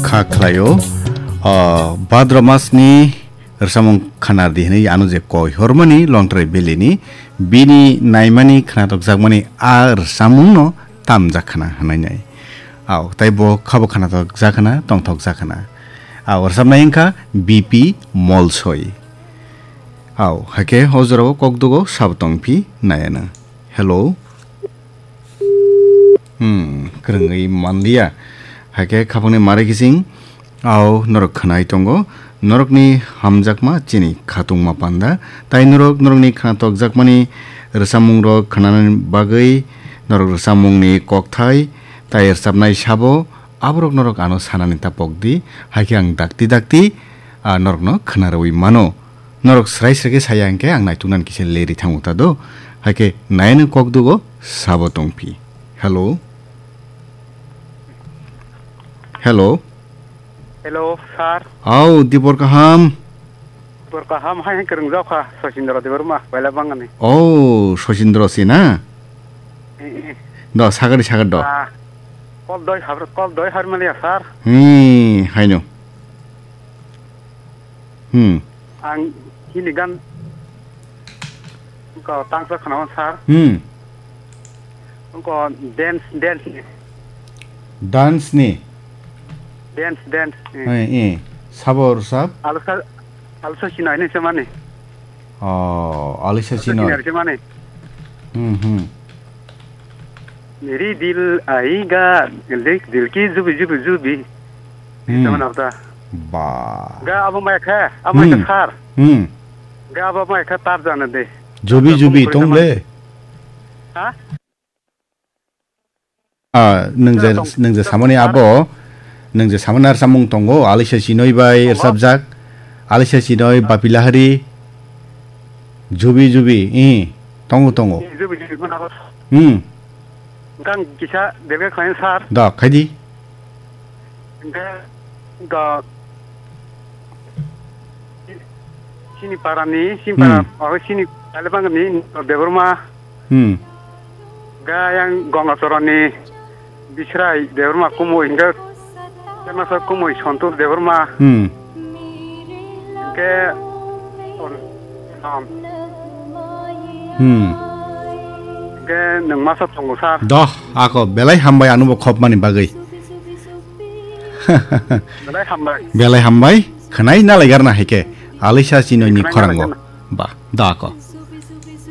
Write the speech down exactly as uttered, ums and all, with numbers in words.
Kha khlaio, o, Bhadra masni rwchapmung khna di hwnwi ano je koi hormani Longtrai Valley ni bini naimani khnatok jakmani a rwchapmungno tamjak khna hwnwi nai. Au, tei bo khabo khnatok jak khna, tongthok jak khna. Au, rwchapnai wngkha B P Molsoi. Au, hakhe o jorao kokdugo sabo tongphi nai ano. Hello. Hmm, kwrwngwi manliya. Hakhe khapangni mare kising, au norok khwnai tongo. Norokni hamjakma chini khatungma panda. Tai norok, norokni khnatok jakmani rwchapmungrok khwnanani bagwi norok rwchapmungni kokthai tai rwchapnai sabo, aborok norok ano sanani ta pokdi. Hakhe ang dakti dakti, ah, norokno khwnarwi mano. Norok srai srai khe saya hwnkhe ang naituknani kisa leri thango ta do. Hakhe nayano kokdugo sabo tongphi. Hello. Hello. Hello, sir. Au, dibor kaham. Dibor kaham hai hai kwrwngjak kha, Sachindra Debbarma, Bailabangani. Oh, Sachindra si na? Eh, eh. Do, sagari sagar do. Ah, kol doi har, kol doi har maliya, sir. Hmm, haino. Hmm. Ang hini gan ko tangsa khana sir. Hmm. Ko dance, dance ni. Dance ni? Dance, dance. Eh. Eh, eh. Sabo rwchap? Alsa, alsa sinai ni semani. Oh, alsa sinai. Alsa sinai semani. Hmm, hmm. Meri dil aega, dil, dil ki jubi, jubi, jubi. Hmm. Sama nafta. Ba. Ga abo mai kha, abo mai Hmm. kha sir. Hmm. Ga abo mai kha tar jana de. Jubi, Ga jubi, abo tong mai le. Ha? Ah, nung je, Tong. nung je samani abo, nung je samani ar samung tongo, alisa sinoi bai Tongo. Ersabjak, alisa sinoi Bapilahari, jubi, jubi, ih, tongo, tongo. Ih, jubi, jubi, mana abo. Hmm. Gang kisa debga khlain sir. Da, khaidi. Hingke ga chini parani, chini para, Hmm. oro chini Kalibangni Debbarma. Hmm. Ga yang Gongachorani Bisrai Debbarma kumui hingke Kemasa kumui Santosh Debbarma. Hmm. Hingke, Hmm. hingke nwng masa tongo sir. Doh, ako belai hambai anubo khopmani bagwi. Belai hambai. Belai hambai. Khwnai nalaigarna hai khe. Alisa Chinoyni Khwnai khorango. nalaigarna. Ba, da ako.